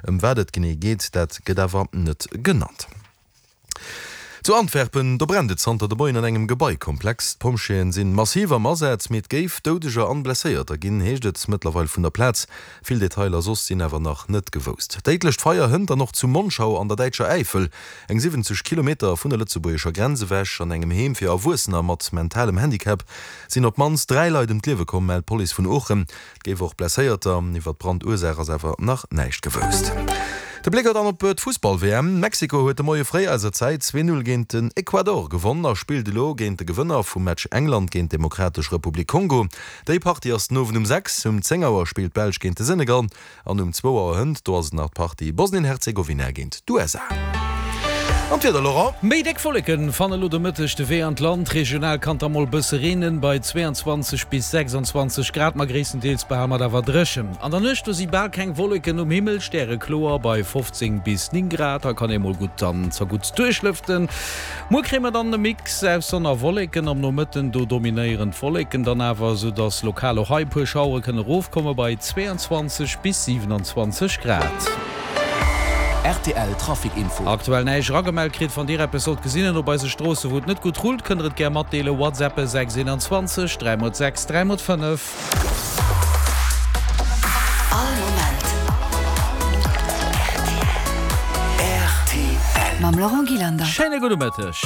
Ëm wat et genee geet, dat gëtt awer net genannt. Zu Antwerpen, do brennt et zanter de Moien an engem Gebaikomplex. D'Pompjeeën sinn massiv am Asaz, mee et géif Doudeger an Blesséierter ginn, heescht et mëttlerweil vun der Plaz. Vill Detailer soss sinn awer nach net gewousst. Déidlecht Feier hënt dann och zu Monschau an der däitscher Äifel, eng 70 Kilometer vun der lëtzebuergescher Grenz ewech. An engem Heem fir Erwuessener mat mentalem Handicap sinn op d'mannst 3 Leit ëm d'Liewe komm, mellt d'Police vun Oochen. Et géif och Blesséierter. Iwwer d'Brandursaach ass awer nach näischt gewousst. De Bléck dann op d'Fussball-WM. Mexiko huet de Moie fréi eiser Zäit 2, 0 géint den Ecuador gewonn a spillt elo géint de Gewënner vum Match England géint d'Demokratesch Republik Kongo. Déi Partie ass den Owend um 6. Um 10 Auer spillt d'Belsch géint de Senegal. An um zwou Auer hënt, do ass et nach d'Partie Bosnien-Herzegowina géint d'USA. An d'Wieder, Laurent? Méi déck Wolleken fanne lo de Mëtteg de Wee an d'Land. Regional kann da mol bësse reenen, bei 22 bis 26 Grad, ma gréisstendeels behale mer et awer dréchen. An der Nuecht do si bal keng Wolleken um Himmel, stärekloer bei 15 bis 9 Grad. Da kann ee mol gutt an zerguttst duerchlëften. Muer kréie mer dann e Mix aus Sonn a Wolleken. Am Nomëtten do dominéieren d'Wolleken dann awer, soudass lokal och hei e puer Schauere kënne rofkomme bei 22 bis 27 Grad. Rtl Trafic Info. Aktuell näischt eragemellt kritt. Wann Dir eppes sollt gesinn op eise Stroosse wou et net gutt rullt, kënnt der et gär matdeelen. WhatsAppe 6 21 3 x 6 3 x 5. All Moment rtl. Mam Laurent Gillander. Schéine gudde Mëtteg.